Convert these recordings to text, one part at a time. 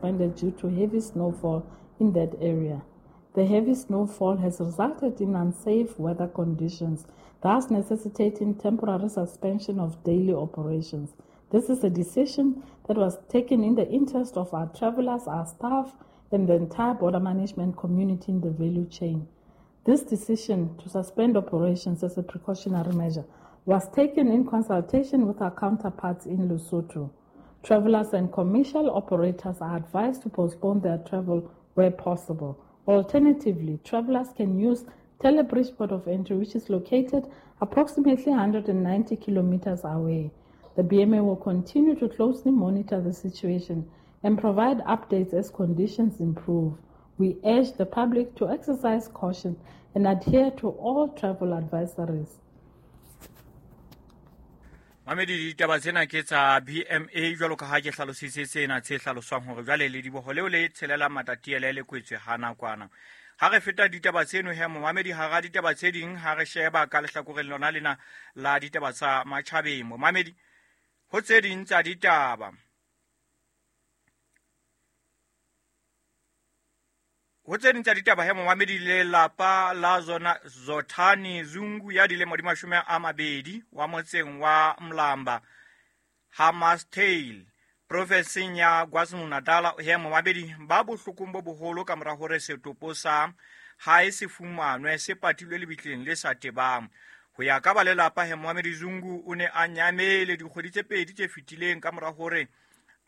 Suspended due to heavy snowfall in that area. The heavy snowfall has resulted in unsafe weather conditions, thus necessitating temporary suspension of daily operations. This is a decision that was taken in the interest of our travelers, our staff, and the entire border management community in the value chain. This decision to suspend operations as a precautionary measure was taken in consultation with our counterparts in Lesotho. Travelers and commercial operators are advised to postpone their travel where possible. Alternatively, travelers can use Telebridge Port of Entry, which is located approximately 190 kilometers away. The BMA will continue to closely monitor the situation and provide updates as conditions improve. We urge the public to exercise caution and adhere to all travel advisories. Mamedi, ditaba tsena ke tsa BMA jwalo ka ha ke hlalositse tsena tse hlaloswang hore jwale lediboho leo le tshelelang Matatiele le kwetswe ha nakwana. Ha re feta ditaba tseno he, momamedi, hara ditaba tse ding, ha re sheba ka lehlakoreng lona lena la ditaba tsa matjhabeng, momamedi, ho tse ding tsa ditaba, ho tse ding tsa ditaba he, momamedi, lelapa la zona Zothani Zungu ya dilemo di 20 wa motseng wa Mlamba, Hammarsdale, profenseng ya KwaZulu-Natal he, momamedi, ba bohlokong bo boholo ka mora hore setopo sa hae se fumanwe se patilwe lebitleng le sa tebang. Ho ya ka ba lelapa he, momamedi, Zungu o ne a nyamele dikgwedi tse 2 tse fetileng ka mora hore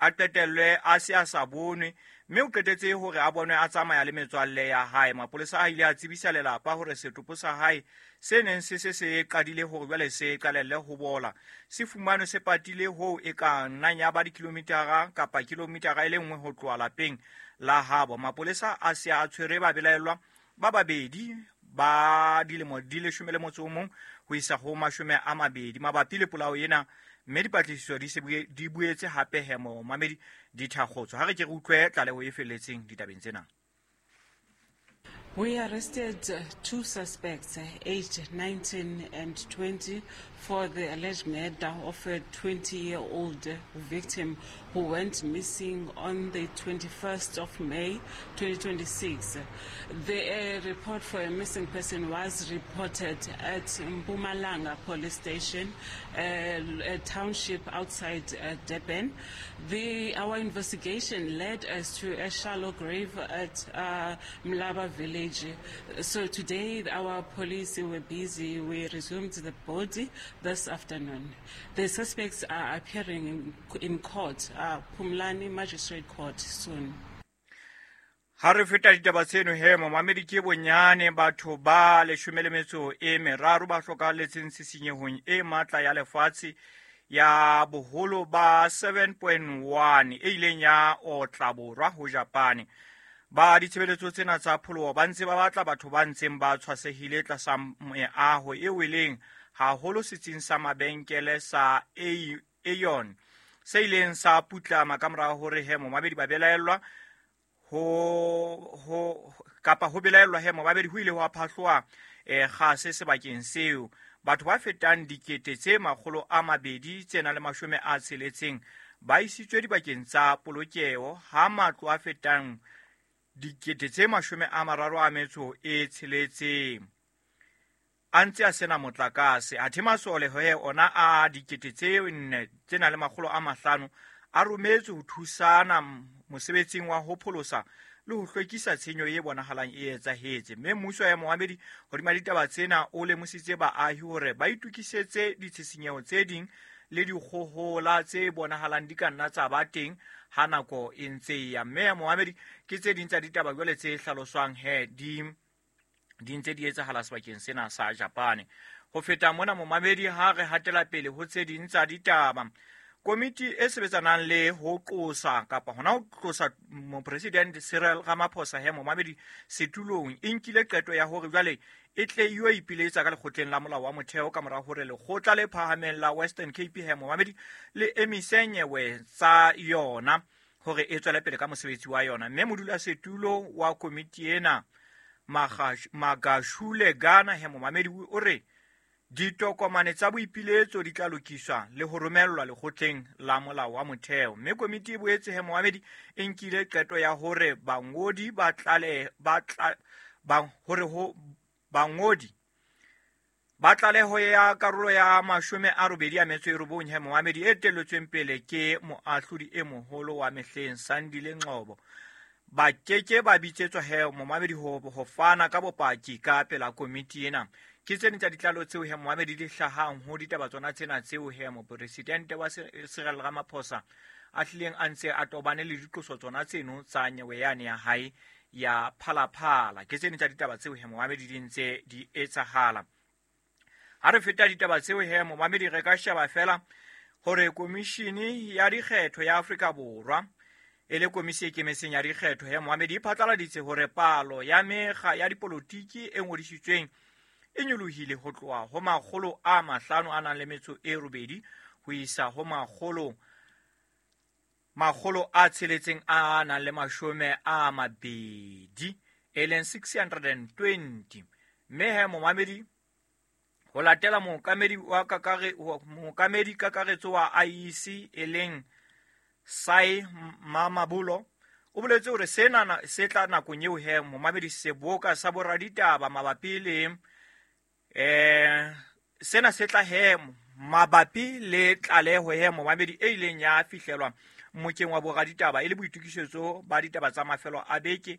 a qetellwe a se a sa bonwe, mme o qetetse hore a bonwe a tsamaya le metswalle ya hae. Mapolesa a ile a tsebisa lelapa hore setopo sa hae se neng se se se qadile hore jwale se qalelle ho bola se fumanwe se patile hoo e ka nnang ya ba dikilomitara kapa kilomitara e le nngwe ho tloha lapeng la habo. Mapolesa a se a tshwere babelaellwa ba babedi ba dilemo di 11 ho isa ho 20 mabapi le polao ena, mme dipatlisiso di se di boetse hape he, momamedi, di thakgotswe. Ha re ke re utlwe tlaleho e felletseng ditabeng tsena. We arrested two suspects, aged 19 and 20, for the alleged murder of a 20-year-old victim who went missing on the 21st of May 2026. The report for a missing person was reported at Mpumalanga Police Station, a township outside Durban. Our investigation led us to a shallow grave at Mlaba village. So today our police were busy. We resumed the body this afternoon. The suspects are appearing in court, Pumlani Magistrate Court, soon. Ha re feta ditaba tseno he, momamedi, ke bonyane batho ba 13 ba hlokahalletseng tshitsinyehong e matla ya lefatshe ya boholo ba 7.1 e ileng ya otla borwa ho Japane. Ba ditshebeletso tsena tsa pholoho ba ntse ba batla batho ba ntseng ba tshwasehile tlasa meaho e weleng haholo setsing sa mabenkele sa Aeon se ileng sa putlama ka mora hore he, momamedi, ba belaellwa ho kapa ho belaellwa he, momamedi, ho ile ho phahloa kgase sebakeng seo. Batho ba fetang 260,600 ba isitswe dibakeng tsa polokeho, ha matlo a fetang 36,000 a ntse a sena motlakase, athe masole he ona a 4,500 a rometswe ho thusana mosebetsing wa ho pholosa le ho hlwekisa tshenyo e bonahalang e etsahetse. Mme mmuso ya momamedi hodima ditaba tsena o lemositse baahi hore ba itokisetse ditshisinyeho tse ding le dikgohola tse bonahalang di ka nna tsa ba teng ha nako e ntse e ya. Mme ya momamedi, ke tse ding tsa ditaba jwale tse hlaloswang he di ntse di etsahala sebakeng sena sa Japane. Ho feta mona, momamedi, ha re hatela pele ho tse ding tsa ditaba, komiti e sebetsanang le ho qosa kapa hona ho tlosa mopresidente Cyril Ramaphosa he, momamedi, setulong e nkile qeto ya hore jwale e tle yo ipiletsa ka lekgotleng la molao wa motheo ka mora hore lekgotla le phahameng la Western Cape he, momamedi, le emise nyewe tsa yona hore e tswele pele ka mosebetsi wa yona. Mme modulasetulo wa komiti ena, Magashule Gana he, momamedi, o re Ditokomane tsa boipiletso di tla lokiswa le ho romellwa lekgotleng la molao wa motheo. Mme komiti e boetse he momamedi e nkile qeto ya hore bangodi ba tlale ba tla ba hore ho bangodi ba tlaleho ya karolo ya 89 he momamedi e telletsweng pele ke moahlodi e moholo wa mehleng Sandile Ngcobo ba keke ba bitsetswa he momamedi ho fana ka bopaki ka pela komiti ena. Ke tse ding tsa ditlalo tseo he momamedi di hlahang ho ditaba tsona tsena tseo he mopresidente wa Cyril Ramaphosa a hlileng a ntse a tobane le diqoso tsona tseno tsa nyewe yane ya hae ya Phalaphala. Ke tse ding tsa ditaba tseo he momamedi di ntse di etsahala. Ha re feta ditaba tseo he momamedi re ka sheba fela hore komishini ya dikgetho ya Afrika Borwa e le komisi e kemetseng ya dikgetho he momamedi e phatlaladitse hore palo ya mekga ya dipolotiki e ngodisitsweng e nyolohile ho tloha ho 508 ho isa ho 620, e leng 620. Mme he momamedi ho latela mookamedi wa mookamedi kakaretso wa IEC e leng Sai Mamabolo o boletse hore sena se tla nakong eo he momamedi seboka sa boraditaba mabapi le sena se tla he mabapi le tlaleho he momamedi e ileng ya fihlelwa mmokeng wa boraditaba e le boitokisetso ba ditaba tsa mafelo a beke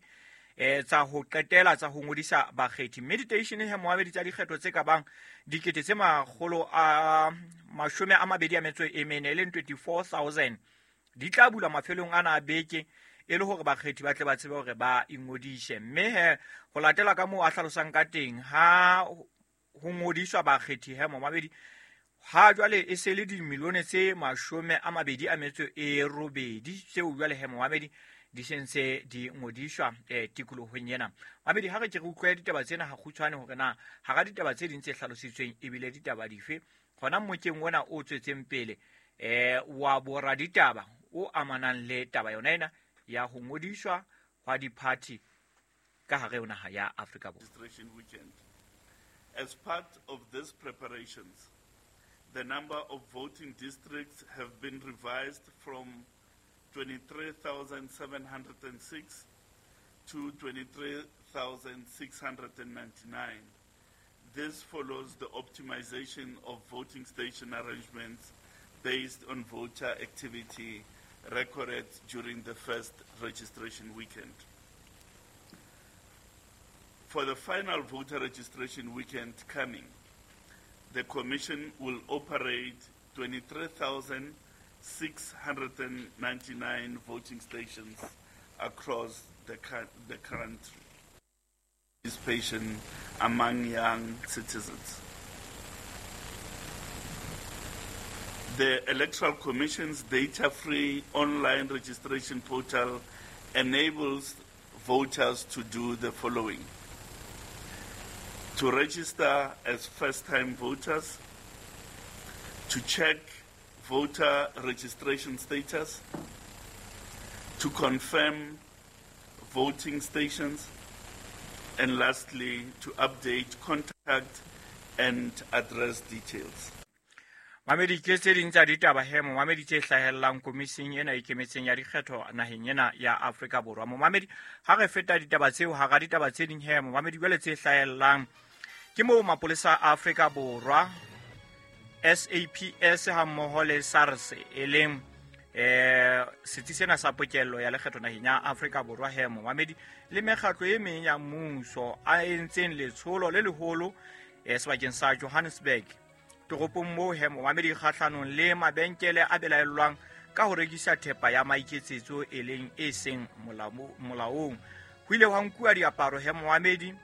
tsa ho qetela tsa ho ngodisa bakgethi. Mme diteishene he momamedi tsa dikgetho tse ka bang 224,000 e leng 24,000 di tla bulwa mafelong ana a beke e le hore bakgethi ba tle ba tsebe hore ba ingodise. Mme he ho latela ka moo a hlalosang ka teng ha ho ngodiswa bakgethi he momamedi ha jwale e se le dimilione tse 28 tseo jwale he momamedi di sentse di ngodiswa tikolohong ena. Mamedi ha re ke re utlwe ditaba tsena ha kgutshwane hore na hara ditaba tse ding tse hlalositsweng ebile ditaba dife hona mmokeng ona o tswetseng pele wa boraditaba o amanang le taba yona ena ya ho ngodiswa hwa diphathi ka hare ho naha ya Afrika Borwa. As part of these preparations, the number of voting districts have been revised from 23,706 to 23,699. This follows the optimization of voting station arrangements based on voter activity recorded during the first registration weekend. For the final voter registration weekend coming, the Commission will operate 23,699 voting stations across the country. Participation among young citizens. The Electoral Commission's data-free online registration portal enables voters to do the following: to register as first-time voters, to check voter registration status, to confirm voting stations, and lastly, to update contact and address details. Mamedi ke tse ding tsa ditaba he momamedi tse hlahellang komising ena e ikemetseng ya dikgetho naheng ena ya Afrika Borwa. Momamedi ha re feta ditaba tseo hara ditaba tse ding he momamedi jwale tse hlahellang ke moo mapolesa a Afrika Borwa SAPS ha mmoho le SARS e leng setsi sena sa pokello ya lekgetho naheng ya Afrika Borwa he momamedi le mekgatlo e meng ya mmuso a entseng letsholo le leholo sebakeng sa Johannesburg toropong moo he momamedi kgahlanong le mabenkele a belaellwang ka ho rekisa thepa ya maiketsetso e leng e seng molaong. Ho ile hwa nkuwa diaparo he momamedi,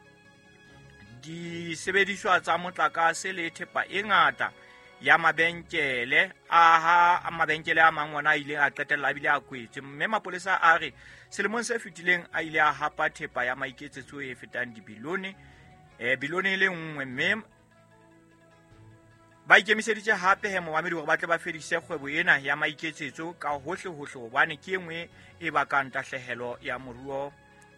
disebediswa tsa motlakase le thepa e ngata ya mabenkele aha mabenkele a mang ona a ile a qetella a bile a kwetswe. Mme mapolesa a re selemong se fetileng a ile a hapa thepa ya maiketsetso e fetang dibilione bilione e le nngwe, mme ba ikemiseditse hape he momamedi hore ba tle ba fedise kgwebo ena ya maiketsetso ka hohle hohle hobane ke e nngwe e bakang tahlehelo ya moruo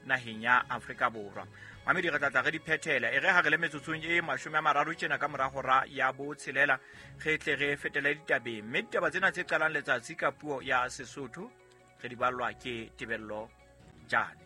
naheng ya Afrika Borwa. Mamedi, re tlatla re di phethela e re ha re le metsotsong e 30 tjena ka mora hora ya 6, re tle re fetele ditabeng. Mme ditaba tsena tse qalang letsatsi ka puo ya Sesotho re di ballwa ke Tebello Jane.